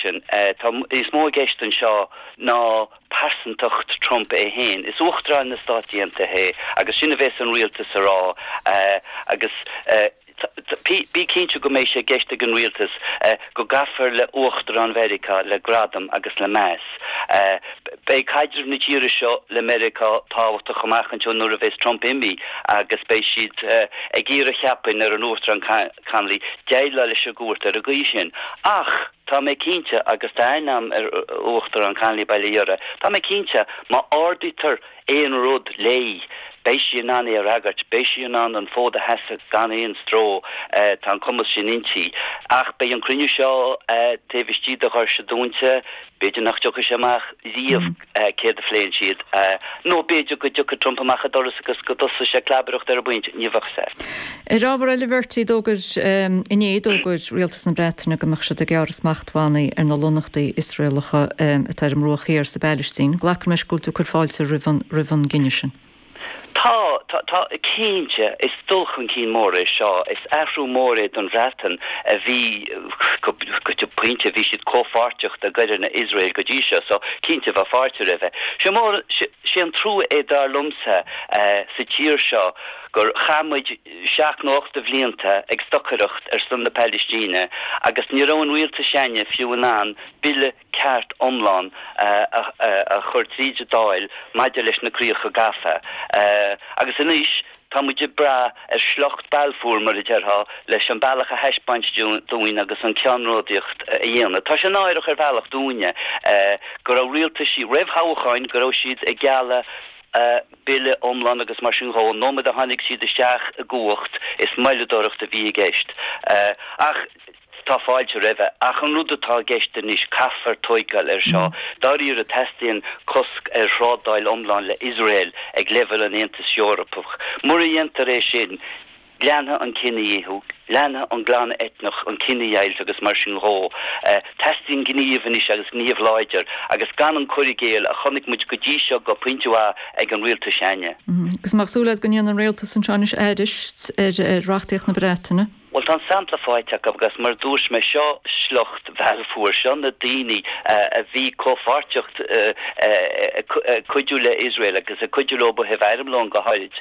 sin. Tá níos mó i gceist anseo ná pearsantacht Trump é féin. Is Uachtarán na Stát Aontaithe é agus sin a bheas an rialtas a rá agus bí cinnte go mbeidh sé i gceist ag an rialtas go gcaithfear le Uachtarán Mheiriceá le gradam agus le meas. Beidh caidreamh na tíre seo le Meiriceá tábhachtach amach anseo nuair a bheas Trump imithe agus beidh siad ag iarraidh cheapfainn ar an Uachtarán Connolly déileáil leis an gcúirt ar an gcaoi sin. Ach tá mé cinnte, agus tá aithne agam ar Uachtarán Connolly bail ó Dhia uirthi, tá mé cinnte má ardaítear aon rud léi, beidh sí in ann é a fhreagairt, beidh sí in ann an fód a sheasamh gan aon stró, tá an cumas sin inti. Ach beidh an cruinniú seo taobh istigh de dhoirse dúnta, b'fhéidir nach dtiocfaidh sé amach riamh céard a phléann siad, nó b'fhéidir go dtiocfaidh Trump amach an doras agus go dtosóidh sé clabaireacht ar an bpointe, ní bheadh a fhios agat. Ar ábhar eile, a Bhertie, d'fhógair inné, d'fhógair rialtas na Breataine go mbeadh siad ag gearradh smachtbhannaí ar na lonnaíochtaí Iosraelacha atá ar an mBruach Thiar sa bPailistín. Glacaim leis go bhfuil tú ag cur fáilte roimh an roimh an gcinneadh sin. Tá, tá, tá, cinnte. Is dul chun cinn mór é seo. Is athrú mór é don Bhreatain a bhí, go go pointe, bhí siad comhpháirteach i gcoireanna Iosrael go dtí seo, so cinnte bheadh fáilte roimhe. Sé mór, sé an trua é dar liomsa sa tír seo gur chaith muid seacht nó ocht de bhlianta ag stocaireacht ar son na Pailistíne agus ní raibh an rialtas s'againne fiú in ann bille ceart iomlán a chur tríd an Dáil maidir leis na críocha gafa. Agus anois tá muid ag brath ar shliocht Balfour, mar a déarfá, leis an bealach a thaispeáint dúinn agus an ceannródaíocht a dhéanamh. Tá sé náireach ar bhealach dúinne go raibh rialtaisí roimh thoghcháin, go raibh siad ag gealladh bille iomlán agus mar sin dhó. An nóiméad a tháinig siad isteach i gcumhacht is moilleadóireacht a bhí i gceist. Ach. Tá fáilte roimhe, ach an rud atá i gceist anois, caithfear tóigeáil air seo. Dáiríre, teastaíonn cosc ar thrádáil iomlán le Iosrael ag leibhéal an Aontais Eorpaigh. Mura dhéantar é sin, leanfaidh an cinedhíothú, leanfaidh an glanadh eitneach, an chinedheighilt agus mar sin dhó. Teastaíonn gníomh anois agus gníomh láidir agus gan an cur i gcéill a chonaic muid go dtí seo go pointe mhaith ag an rialtas s'againne. Agus an mbeadh súil agat go ndéanfaidh an rialtas anseo anois aithris ar reachtaíocht na Breataine? Bhuel, tá an sampla faighte acu agus mar a dúirt mé, seo sliocht Bhalfour, seo na daoine a bhí comhpháirteach ag cuidiú le Iosrael agus ag cuidiú leo ó thaobh armlóin go háirid.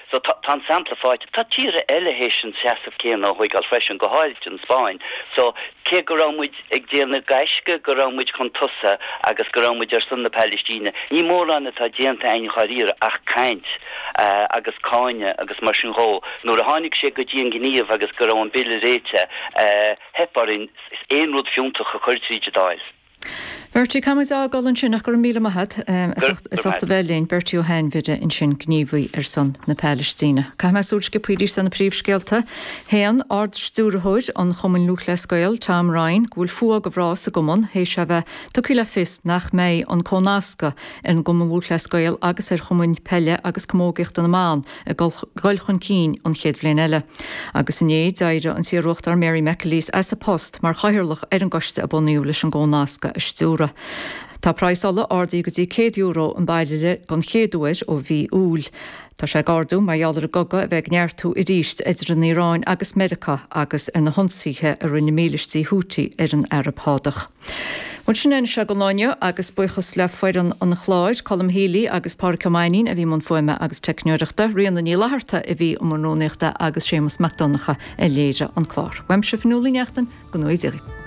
So tá an sampla faighte. Tá tíortha eile théis an seasamh céanna a thóigeáil freisin, go háirid an Spáinn. So cé go raibh muid ag déanamh gaisce go raibh muid chun tosaigh agus go raibh muid ar son na Pailistíne, ní mórán atá déanta againn dháiríre ach caint agus cáineadh agus mar sin dhó. Nuair a tháinig sé go dtí an gníomh agus go raibh an bille réitithe, theip orainn aon rud fiúntach a chur tríd an Dáil. Bertie, caithfidh muid a fhágáil ansin ach go raibh míle maith agat as ucht a bheith linn. Bertie Ó hAinmhire ansin, gníomhaí ar son na Pailistíne. Caithfidh mé súil sciobtha arís ar na príomhscéalta. Shéan Ard-Stiúrthóir an Chumainn Lúthchleas Gael, Tom Ryan, go bhfuil fuath go bhreá sa gcumann théis é bheith tugtha le fios nach mbeidh an comhnascadh ar an gCumann Lúthchleas Gael agus ar chumainn peile agus camógaíochta na mban ag dul chun cinn an chéad bhliain eile. Agus inné, d'éirigh an t-iarUachtarán Mary McAleese as a post mar chathaoirleach ar an gcoiste a bunaíodh leis an gcomhnascadh a stiúradh. Tá praghas ola ardaithe go dtí €100 an bairille don chéad uair ó mhí Iúil. Tá sé ag ardú mar gheall ar an gcogadh a bheith ag neartú arís idir an Iaráin agus Meiriceá agus ar na hionsaithe a rinne mílístí Houthi ar an Araib Shádach. Bhuel, sin é anois é don lá inniu agus buíochas le foireann an chláir, Colm Healy agus Pádraic Ó Mainnín a bhí i mbun fuaime agus teicneoireachta, Ríona Ní Fhlatharta a bhí i mbun rúnaíochta agus Séamus Mac Donncha a léirigh an clár. Uaimse Fionnuala Ní Neachtain, go ngnóthaí Dia dhaoibh.